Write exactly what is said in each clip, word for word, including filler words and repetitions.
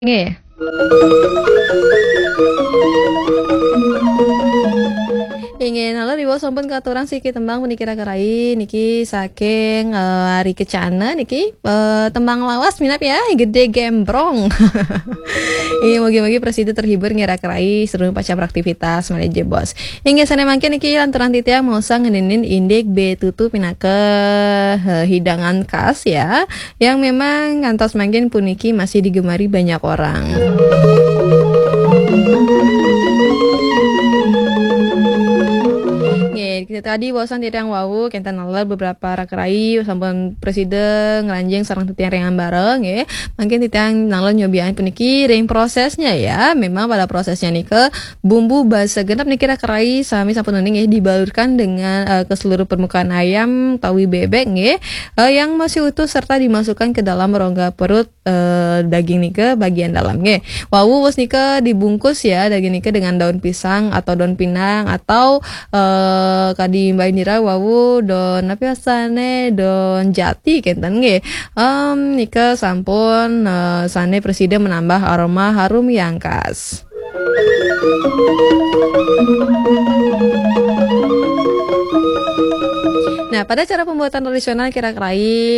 Nggih. Inggih, nalar ibu sampun katurang siki tembang puniki Raka Rai niki saking, eh, Ari Kecana niki, eh, tembang lawas minap ya, Gede Gembrong. Iya, mugi-mugi prasida terhibur nggih Raka Rai, seru pacah beraktivitas malih jebos. Inggih, sané mangkin niki lanturang titiang maosang ngeninin indik betutu pinaka, eh, hidangan khas ya, yang memang ngantos mangkin puniki masih digemari banyak orang. Nggih, kita tadi wawasan titiang wau, kenten nalar beberapa Raka Rai sampun prasida ngranjing sareng titiang ring ambara, nggih. Mangkin titiang nalar nyobiain puniki ring prosesnya ya. Memang pada prosesnya nika bumbu basa genep niki Raka Rai sami sampun uning nggih dibalurkan dengan, eh, ke seluruh permukaan ayam utawi bebek nggih, eh, yang masih utuh serta dimasukkan ke dalam rongga perut, eh, daging nika bagian dalam nggih. Wau wus nika dibungkus ya daging nika dengan daun pisang atau daun pinang atau, eh, kadi Mbak Indira wau daun apa sane daun jati kenten nggih. Em, nika sampun, eh, sane presida menambah aroma harum yang khas. Nah, pada cara pembuatan tradisional kira-kira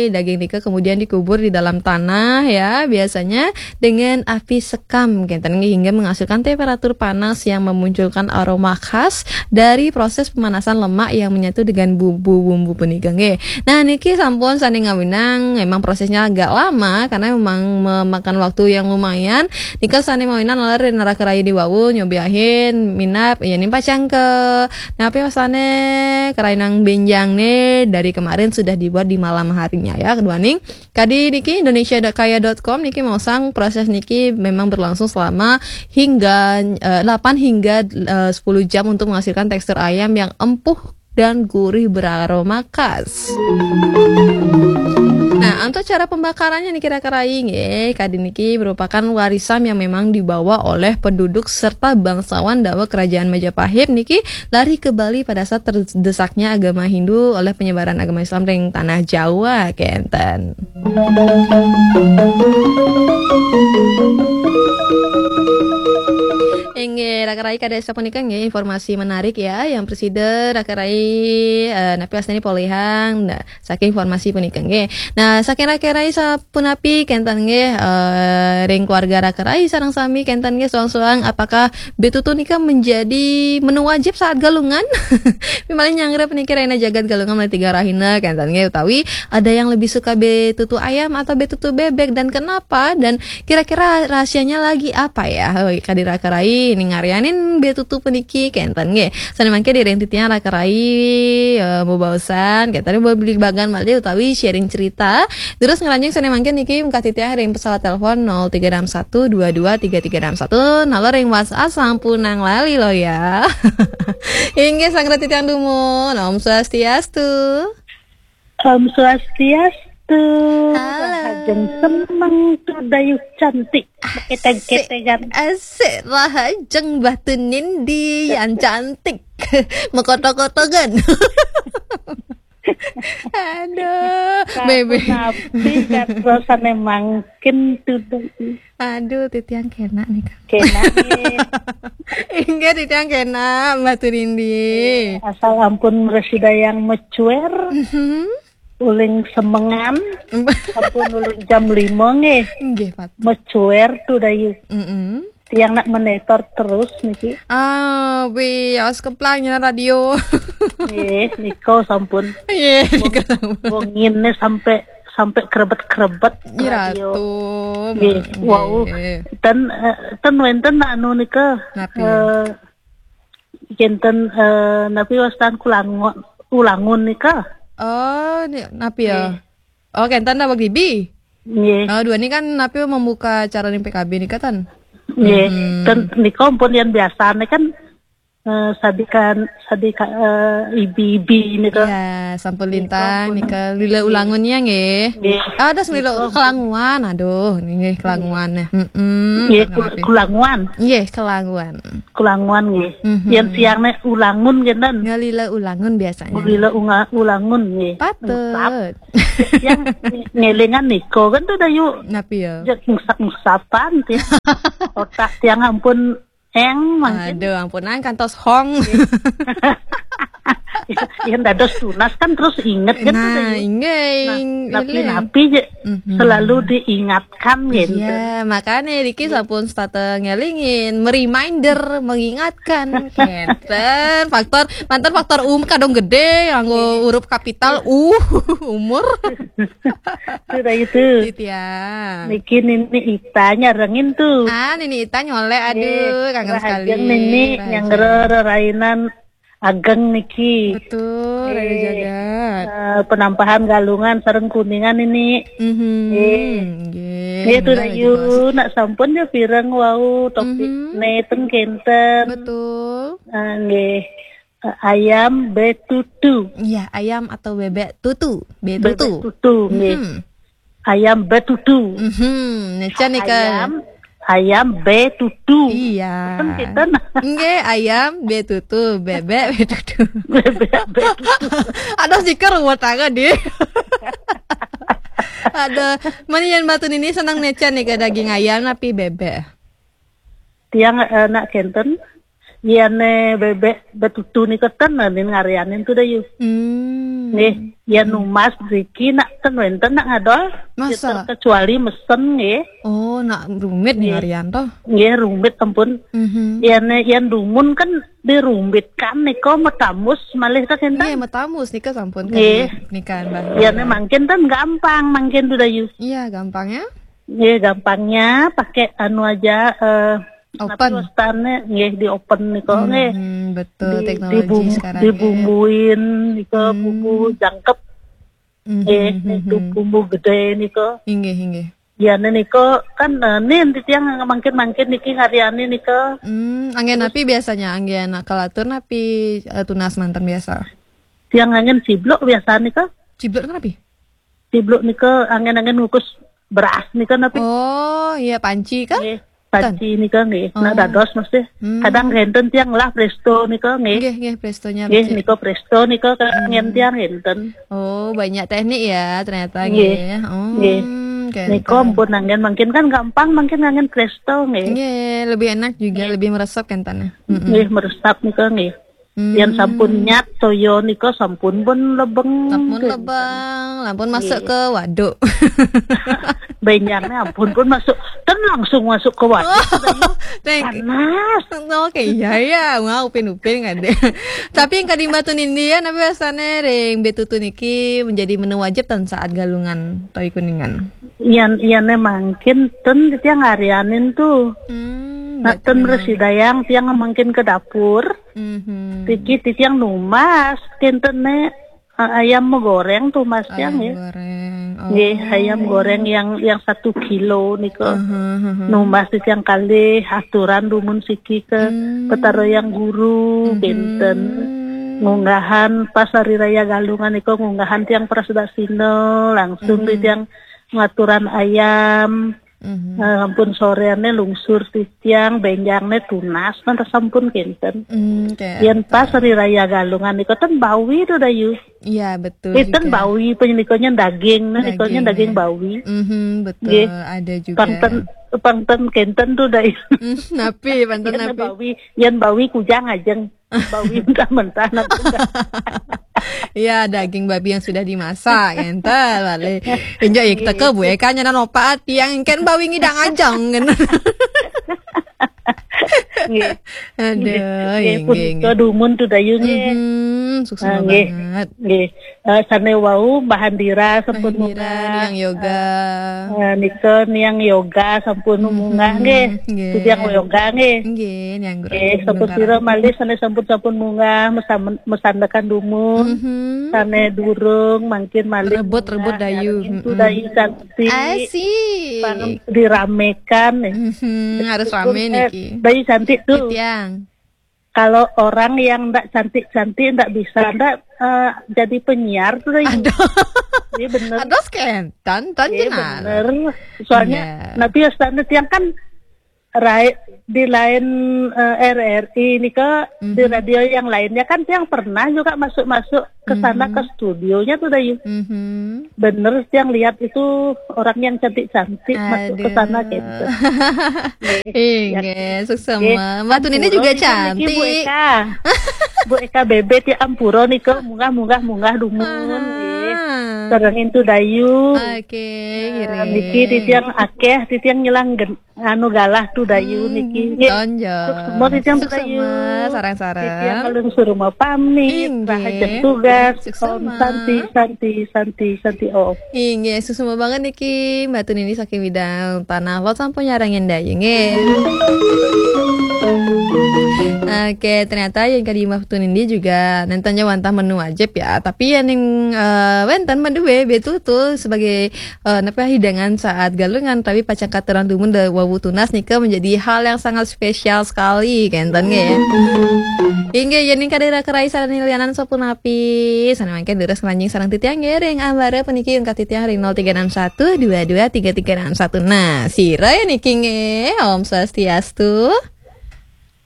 daging nika kemudian dikubur di dalam tanah ya, biasanya dengan api sekam kenten nggih, hingga menghasilkan temperatur panas yang memunculkan aroma khas dari proses pemanasan lemak yang menyatu dengan bumbu-bumbu punika nggih. Nah, niki sampun sane ngawinang, memang prosesnya agak lama karena memang memakan waktu yang lumayan. Nika sane ngawinang ler naraka raya di wau nyobiahin minap ya ning pacang ke napi wasane kerainang benjang nih dari kemarin sudah dibuat di malam harinya ya. Kedua nih, kadi niki indonesia kaya dot com niki maosang proses niki memang berlangsung selama hingga, eh, delapan hingga, eh, sepuluh jam untuk menghasilkan tekstur ayam yang empuk dan gurih beraroma khas. Nah, untuk cara pembakarannya niki kira-kira nggih, kadi niki merupakan warisan yang memang dibawa oleh penduduk serta bangsawan dawa kerajaan Majapahit niki lari ke Bali pada saat terdesaknya agama Hindu oleh penyebaran agama Islam ring tanah Jawa kenten. Inggih, raka rai kada sapunika nggih informasi menarik ya yang presida raka rai, eh, napi astani polihang. Nah, saking informasi punika nggih. Nah, saking raka rai sapunapi kenten nggih, eh, ring keluarga raka rai sareng sami kenten nggih suang-suang apakah betutu nika menjadi menu wajib saat galungan? Misalnya nyanggra puniki raina jagat galungan mulai tiga rahina kenten nggih utawi ada yang lebih suka betutu ayam atau betutu bebek dan kenapa dan kira-kira rahasianya lagi apa ya? Hoi, kadi raka rai ning ngarianin betutu puniki kenten nggih. Sane mangke diring titiang raka rai, eh, bebaosan kenten beli bagan malih utawi sharing cerita. Terus ngelanjing sane mangke niki mengkah titiang ring pesawat telepon nol tiga enam satu dua dua tiga tiga enam satu, nalo ring WhatsApp sampunang lali lo ya. Inggih sanggra titiang dumun. Om Swastiastu. Om Swastiastu. Halo. Rahajeng semeng tu dayuh cantik. Keteg-ketegan. Asik, rahajeng batu nindi yang cantik. Mekotok-kotokan. Aduh, bebe. Napi kan rasane mangkin tu dayuh. Aduh, titiang kena nih, Kak. Kena nih. Inggih, titiang kena, batu nindi. Asal ampun resida yang mecuer. Mhm. Uling semengan, sampun uling jam lima nggih. Nggih, Pak. Mecuer tu dayuh. Mm-mm. Tiang nak menetor terus niki. Ah, wi, awas keplang nyenar radio. Nggih, nika sampun. Nggih, nika sampun. Wong ngene sampai, sampai krebet-krebet radio. Nggih, wau. Nggih. Ten, eh, ten wenten anu nika. Napi? Eh, Kenten, eh, napi wastan kulango-, ulangun nika. Oh, ni, napi ya? Nggih. Oh, kenten dah bagi bi. Nggih. Oh, dua ni kan napi membuka acara ning P K B nika tan? Nggih. Hmm. Ten, nika ampun yang biasane kan eh, sadikan sadika eh, ibi-ibi nika. Ya, sampun lintang nika lila ulangunnya nggih. Nggih. Ada semilo kelanguan. Aduh, nggih kelanguan ya. Heeh. Nggih, kul- kulanguan. Nggih, kelanguan. Kulanguan nggih. Mhm. Yang siang nek ulangun nggih ten. Ngalila ulangun biasanya. Ngalila unga- ulangun nggih. Patut. Yang ngelingan niko kan tuh dayu. Napi ya? Jek ngusap-ngusapan tiang. Otak tiang ampun eng mangkin. Aduh, ampunan kantos hong. Yang dados tunas kan terus inget kan tuh Nah, dayu. Inggih. Nah, ing- tapi napi je Mhm. Selalu diingatkan gitu. Iya, makanya Riki sampun start ngelingin, mereminder, mengingatkan. Kenten, faktor mantan faktor um kadung gede, nganggo huruf kapital U, umur. Sudah itu. Titiang. Niki nini Ita nyarengin tuh. Ah, nini Ita nyolek, aduh, kangen sekali. Nini yang rerainan ageng niki. Betul, Raya Jagat. Eh, penampahan Galungan sareng Kuningan ini. Mhm. Nggih. Nggih, itu Rayu, nak sampun ya pireng wau topik neten kenten. Betul. Eh, nggih. Eh, ayam betutu. Iya, ayam atau bebek tutu. Betutu. Bebek tutu, nggih. Mhm. Ayam betutu. Mhm, neca nika. Ayam, ayam betutu. Iya. Kan kita nah. Nggih, ayam betutu, bebek betutu. Bebek betutu. Aduh, sih ruwet aja deh. Ada, mana yang batu ini senang neca nih ke daging ayam tapi bebek. Tiang eh, nak kenten. Yane bebek betutu nika ten nin ngarianin tuh dayu. Hmm. Nggih, ya numas riki nak ten wenten nak ngadol. Masa? Kecuali mesen nggih. Oh, nak rumit nih ngarian toh. Nggih, rumit ampun. Mhm. Yane yan dumun kan dirumitkan nika metamus malih ta kenten. Nggih, metamus nika sampun nggih. Nika Mbah. Yane mangkin ten gampang mangkin tuh dayu. Iya, gampangnya. Nggih, gampangnya pakai anu aja eh, Open. Tapi wastane nggih di open nika nggih. Hmm, betul, teknologi sekarang ya. Dibumbuin nika bumbu jangkep. Nggih, niku bumbu gede nika. Inggih, inggih. Yane nika kan eh, nin titiang mangkin-mangkin niki ngariani nika. Hmm, anggen napi biasanya anggen kalatur napi eh, tunas manten biasa? Tiang anggen ciblok biasa nika. Ciblok napi? Ciblok nika anggen-anggen ngukus beras nika napi? Oh, iya panci kah? Nggih, panci nika nggih. Nak dados mesti. Hmm. Kadang ngenten tiang lah presto nika nggih. Nggih, nggih prestonya. Nggih, nika presto nika kan ngen tiang ngenten. Oh, banyak teknik ya ternyata nggih. Nggih. Oh, nggih. Nika ampun anggen mangkin kan gampang mangkin anggen presto nggih. Nggih, lebih enak juga, lebih meresap kan tanah. Nggih, meresap nika nggih. Hmm. Yang sampun nyat toyo nika sampun pun lebeng. Sampun lebeng, lampun masuk ke waduk. Benyarnya ampun pun masuk, kan langsung masuk ke waduk. Oh, panas. Oke, iya ya, mau upin-upin kan deh. Tapi yang kadang batu nindi ya, nabi biasanya ring betutu niki menjadi menu wajib tan saat galungan toy kuningan. Iyan iyan mangkin ten tiang ngarianin tuh. Hmm, nah, ten resi dayang tiang mangkin ke dapur. Mhm. Tiki titiang numas kenten ne eh, ayam goreng tuh mas tiang ya. Goreng. Oh. Nggih, ayam goreng yang yang satu kilo nika. Aha, aha. Numas titiang kali aturan dumun siki ke petara yang guru kenten. Ngunggahan pas hari raya galungan nika ngunggahan tiang pras dasina langsung titiang ngaturan ayam. Mhm. Eh, ampun soreane lungsur titiang benjangne tunas kan sampun kenten. Hmm, kayak yen pas hari raya galungan nika ten bawi tuh dayu. Iya betul. Iten bawi penyelikonya daging, nah nikonya daging bawi. Mhm, betul. Nggih. Ada juga. Panten panten kenten tuh dayu. Hmm, napi panten napi. Bawi, yen bawi kujang ajeng. Bawi mentah-mentah nanti. Ya, daging babi yang sudah dimasak, entar balik. Enjak ya kita ke bu Eka nyana nopa tiang kan bawi ngidang ajang kan. Aduh, nggih nggih. Dumun tuh dayu nggih. Mhm, sukses banget. Nggih. Eh, sane wau Mbah Andira sampun munggah. Niang yoga. Eh, nika niang yoga sampun munggah nggih. Nggih. Tiang yoga nggih. Nggih, niang guru. Nggih, sampun sira malih sane sampun sampun munggah mesan- mesandekan dumun. Mhm. Sane durung mangkin malih rebut-rebut dayu. Itu dayu cantik. Asik. Diramekan nih. Mhm, harus rame niki. Dayu cantik tuh. Tiang. kalau orang yang ndak cantik-cantik, ndak bisa, ndak eh, jadi penyiar tuh, Dayu. Aduh. Iya, bener. Aduh, skentan, tan Iya, jenar. Bener. Soalnya Iya. Nabi Ustaz tiang kan rai, di lain eh, R R I ini ke di Mhm. radio yang lainnya kan tiang pernah juga masuk-masuk ke sana Mhm. ke studionya tuh, Dayu. Mhm. Bener, tiang lihat itu orang yang cantik-cantik masuk ke sana Aduh. Gitu. Inggih, suksema. Mbak Tun ini juga cantik. Bu Eka. Bu Eka Bebet ya ampura nika munggah-munggah munggah dumun. Aha. Nggih. Sareng Intu Dayu. Oke, Eh, ngiring. Niki titiang akeh, titiang ngilang gen-, anu galah tu Dayu Hmm, niki. Nggih. Tonjol. Suksema titiang tu Dayu. Suksema, sareng-sareng. Titiang ngalungsur rumah pamit, Inggih. Rahaja tugas. Suksema. Om Santi, Santi, Santi, Santi Om. Inggih, suksema banget niki Mbak Tun ini saking bidang tanah lot sampun nyarengin Dayu nggih. Oke, ternyata yang kadi Mbak Tun ini juga nenten ja wantah menu wajib ya. Tapi ya ning eh, wenten menu B B tuh tuh sebagai eh, napa hidangan saat galungan tapi pacang katurang dumun da wawu tunas nika menjadi hal yang sangat spesial sekali kenten nggih. Inggih yen ing kadera kerai sareng lianan sapunapi. Sane mangke deres ngranjing sareng titiang nggih ring ambara puniki ungkat titiang ring nol tiga enam satu dua dua tiga tiga enam satu. Nah, sira ya niki nggih. Om Swastiastu.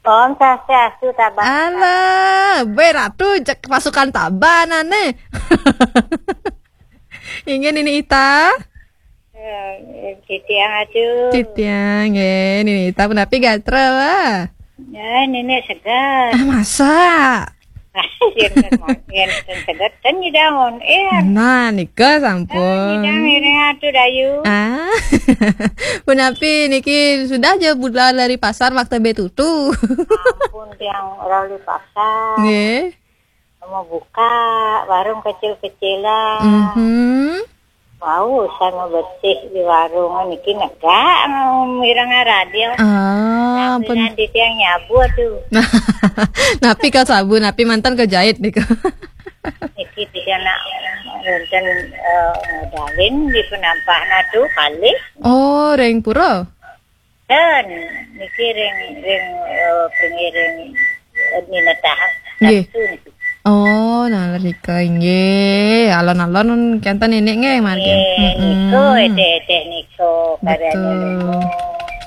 Om Swastiastu, Tabang. Alah, be ratu cek pasukan Tabanan nih. Inggih Nini Ita. Eh, titiang atuh. Titiang nggih, Nini Ita punapi gatra, Wah? Ya, nenek segar. Ah, masa? Yen ten mon-, yen ten segar ten nyidang on air. Nah, nika sampun. Nyidang ini atuh Dayu. Ah. Punapi niki sudah aja budal dari pasar makta betutu. Ampun tiang ora di pasar. Nggih. Mau buka warung kecil-kecilan. Mhm. Wau, saya mau bersih di warung niki negak mireng radio. Ah, Tapi pun nanti tiang nyabu tuh. Napi ka sabu, napi mantan ka jahit nika. Niki tiga nak wonten eh, modalin di penampakan tuh kali. Oh, ring pura. Dan niki ring ring eh, pengiring eh, minatah. Nggih. Satu niki. Oh, nah rika inggih. Alon-alon kenten nenek nggih margi. Eh, Mm-mm. Niko ete-ete niko karyanya Betul. Niko.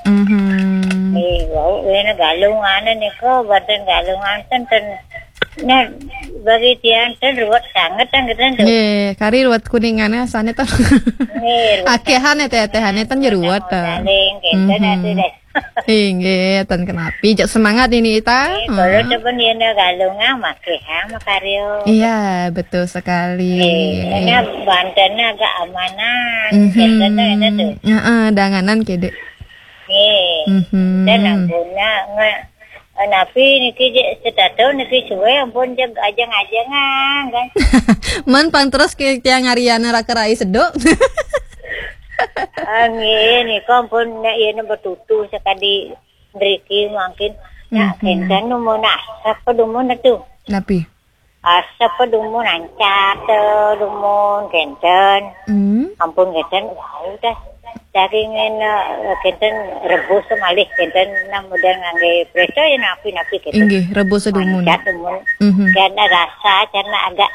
Mhm. Eh, wau ini galungan niko badan galungan ten ten. Nah, bagi tiang ten ruwet sangat kan gitu tuh. Nggih, kari ruwet kuningan asane ten. Nggih, ruwet. Akehan ete-etehane ten ya ruwet ta. Saling kenten Mhm. Atuh deh. Inggih, ten kenapi. Jak semangat ini Ita. Eh, kalau Hmm. Temen yen galungan make ha makaryo. Iya, betul sekali. Eh, karena Banten agak amanan. Mhm. Kenten ada tuh. Heeh, danganan kede. Nggih. Mhm. Dan ampun nge napi niki je setato niki suwe ampun jeg ajeng-ajengan kan. Man pang terus ke tiang Ariana raka rai sedok. Ah, nggih, nika ampun nek yen betutu sekadi mriki mangkin. Nak Mhm. Kenten numun asap pedumun itu. Napi? Asap pedumun ancap dumun kenten. Hmm. Ampun kenten, wau dah. Daging eh, kenten rebus malih kenten nang model ngangge preso ya napi-napi kenten. Inggih, rebus sedumun. Ancap dumun. Mhm. Karena rasa karena agak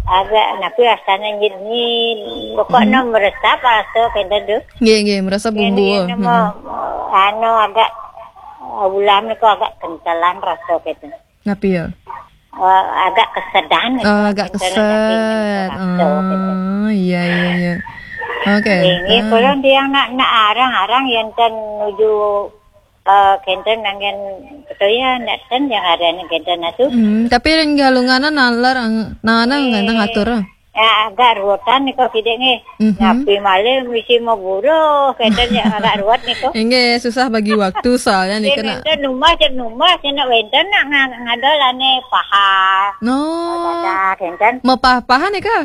agak napi rasanya nyit-nyit. Pokoknya Mhm. Meresap rasa kenten tuh. Nggih, nggih, merasa bumbu. Ini nama Hmm. Anu agak eh, ulam niku agak kentelan rasa kenten. Napi ya? Eh, agak kesedan. Oh, agak keset. Rasa kenten. Oh, iya, iya, iya. Oke. Ini Hmm. Kalau tiang nak nak arang-arang yang ten nuju eh, kenten nangen betul ya nak ten yang ada ni kenten atuh. Hmm, tapi yang galunganan nalar ang- nana Eh. Ngantang atur. Ya, agak ruwetan nika kidik nggih. Mhm. Napi malih misi mau buruh, kenten ya agak ruwet nika. Inggih, susah bagi waktu soalnya nika nak. Kenten numah, cek numah, cek nak wenten nak nga- ngadol ane paha. No. Dadah, kenten. Mepah-pahan nika?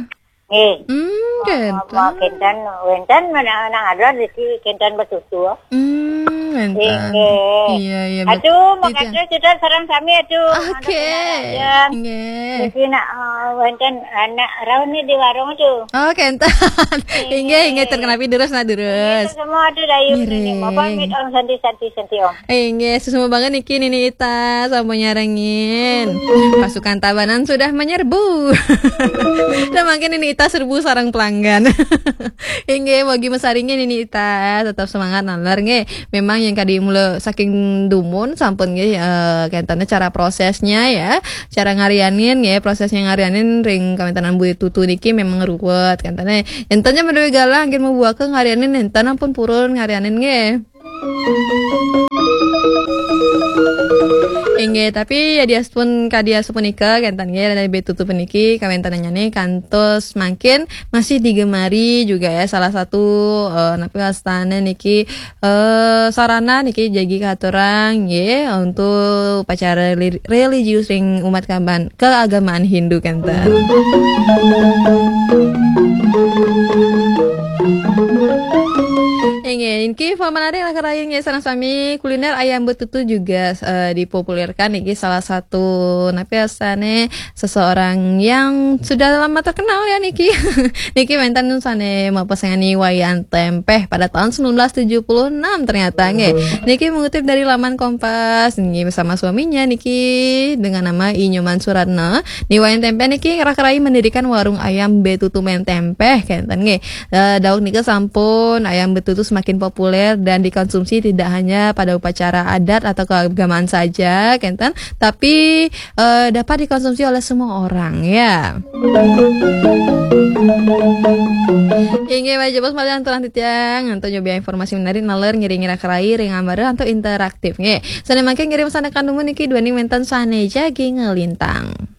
Nggih. Hmm, kenten. Kenten, wenten mana nang ada di si kenten betutu. Hmm. Mantap. Iya, iya. Aduh, makasih sudah sareng sami, aduh. Oke. Nggih. Jadi nak, eh, wonten anak rauh nih di warung tuh. Oh, kenten. Inggih, inggih, terkenapi terus, nah, terus. Semua aduh dayu ini. Apa mit om santi, santi, santi om. Inggih, suksma banget niki Nini Ita sampun nyarengin. Pasukan Tabanan sudah menyerbu. Dan mungkin Nini Ita serbu sareng pelanggan. Inggih, mugi mesaringin Nini Ita tetap semangat naler nggih. Memang yang kadi mula saking dumun sampun nggih, eh, kentene cara prosesnya ya, cara ngarianin nggih, prosesnya ngarianin ring kawentanan Mbok Tutu niki memang ruwet kentene. Entenya menawi galah nggih, mbuka ngarianin enten ampun purun ngarianin nggih. Inggih, tapi ya diaspun kadi asapunika kenten nggih, dari Mbok Tutu puniki kawentenannya nih kantos mangkin masih digemari juga ya, salah satu, eh, napi wastane niki, eh, sarana niki jagi katurang nggih untuk upacara reli-, religius ring umat kaban-, keagamaan Hindu kenten. Inggih, niki informasi menarik lah kerain nggih sareng sami, kuliner ayam betutu juga, eh, dipopulerkan niki salah satu napi wastane seseorang yang sudah lama terkenal ya niki. Niki wenten sane mapesengan niwayan tempeh pada tahun sembilan belas tujuh puluh enam ternyata nggih. Niki mengutip dari laman Kompas nggih, bersama suaminya niki dengan nama I Nyoman Suratna. Niwayan tempeh niki ngerak-rai mendirikan warung ayam Betutu Men Tempeh kenten nggih. Eh, dawuh nika sampun ayam betutu semakin populer dan dikonsumsi tidak hanya pada upacara adat atau keagamaan saja kenten, tapi, eh, dapat dikonsumsi oleh semua orang ya. Inggih, wajah bos malah turang titiang untuk nyoba informasi menarik naler ngiring-ngiring kerai ring ambara untuk interaktif nggih. Sane mangke ngirim sane kandumun niki duani wenten sane jagi ngelintang.